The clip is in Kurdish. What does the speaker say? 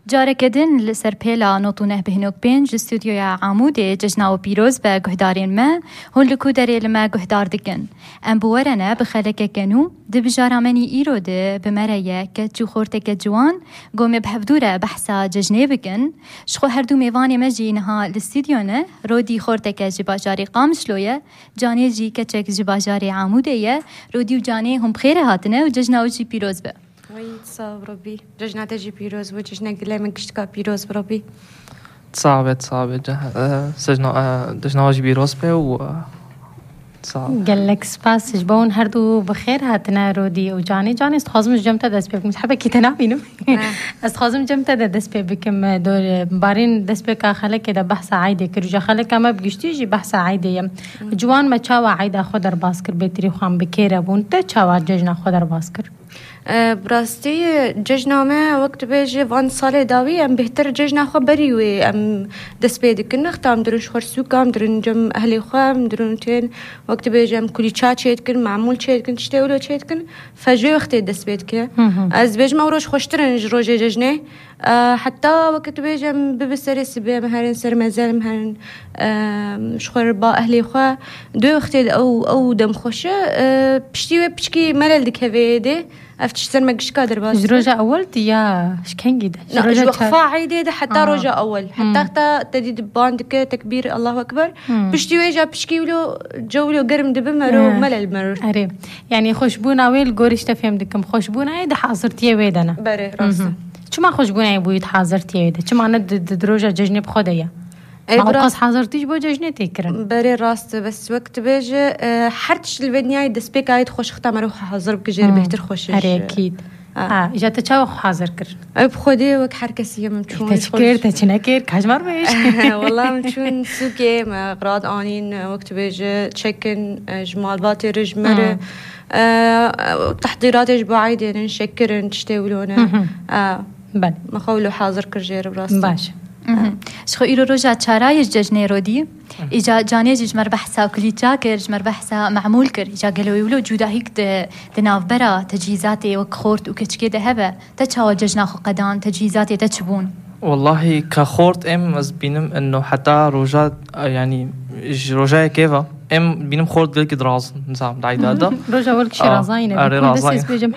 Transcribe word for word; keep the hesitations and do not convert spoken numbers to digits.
Careke din li ser pêla nod û neh bih nokta pênc ji stûdyoya Amûdê cejna we pîroz be guhdarên me, hûn li ku derê li me guhdar dikin. Em bi we re ne bi xelekeke nû, di bijara me nî îro de bi me re ye keç û xorteke ciwan, ku em ê bi hevdû re behsa cejnê bikin. Ji xwe her du mêvanê me jî niha li stûdyo ne, Rodî xorteke ji bajarê Qamişlo ye, Canê jî keçek ji bajarê Amûdê ye. Rodî û Canê hûn bi xêr hatine û cejna we jî pîroz be. Wey, sax û robî. Cejna te jî pîroz bû, cejna gelê min giştika pîroz bi robî. Sax be, sax be. Ce-, e, sejna, e, cejna we jî pîroz be û, e, sax. Gelek spas ji bo hûn her du bi xêr hatine Rodî û Canê. Canê, ez dixwazim ji cem te dest pê bikim. Ez hebekî te nabînim. Ne. Ez dixwazim cem te de dest pê bikim. E, dor, e, barîn destpêka xelekê de behsa eydê kir. Ji xeleka me bi giştî jî behsa eydê ye. Ciwan me çawa eyda xwe derbas kir, bêtirî xwe em bi kêre bûn. Te çawa cejna xwe derbas kir? E, bi rastî cejna me wek tu bêjî van salê dawî em bêhtir cejna xwe berî wê em dest pê dikin. Nexta em dirin ji xwe sûka, em dirin cem ehlê xwe, em dirin tên wek tu bêjî em kulîça çê dikin, mamûl çê dikin, tiştê wilo çê dikin. Fe ji wê wextê dest pê dike. Hı hı. Ez dibêjim ew roj xweştir in ji rojê cejnê. E, heta wek tu bêjî em bibi serê sibê em herin ser meze em herin, e, ji xwe re ba ehlê xwe. Di wê wextê de ew, ew dem xweş e. E, piştî wê piçkî melel dikeve êdê. Ev tişt ser me gişka derbas Ji dibe. Roja ewel de ya, ji kengî de? Ji Na, roja ji çar- weqfa eydê de heta Ha. roja ewel. Hmm. Heta heta te dî diban dike tekbîr, Allahu Ekber. Hmm. Piştî wê ja pişkî wilo, ce wilo germ dibe mero, Hmm. melel mero. Erê. Yani xweşbûna wê li gorî ji te fêm dikim. Xweşbûna wê di hazirtiyê wê de ne. Berê, rast e. Mhm. Çima xweşbûna wê bûyî di hazirtiyê wê de? Çima ne di, di, di roja cejnê bi xwe de ye? E, Ma bi rast- qas hazirtî ji bo cejnê tê kirin. Berê rast e, bes wek tu bêje, e, her tişt li vê dinyayê destpêka yê dixweş xita mero xwe hazir bike jê re Hmm. bêhtir xweş e Erê ji- ekîd. Ha. Ha, îja te çawa xwe hazir kir? Ew bi Xwedê wek her kesî ye min çûn Te ji çi xwe kir, te çi nekir? Ka ji me re bêj. Wela min çûn sûkê me qirad anîn, e, wek tu bêje çekin, e, ji malbatê re ji me re. Hmm. E, e, tehdîratê ji bo eydê ne, şekirin, tiştê wilo ne. Hı hı. E, Belê. Me xwe wilo hazir kir jê re bi rastî. Baş. Mhm. Ji xwe îro roja çara ye ji cejnê Rodî. Îca Canê jî ji me re behsa kulîça kir, ji me re behsa memûl kir. Îca gelo wilo cudahîk di, di navbera tecihîzatê wek xort û keçikê de hebe. Te çawa cejna xwe qedan, tecihîzatê te çi bûn? Wallahî ka xort em ez bînim eno heta roja, yani ji roja yekê ve em bînim xort gelkî dirazin, nizam, dayda da. Roja wel kişî Ah, razayîne. erê Bikun de razayîne. Ses bêjim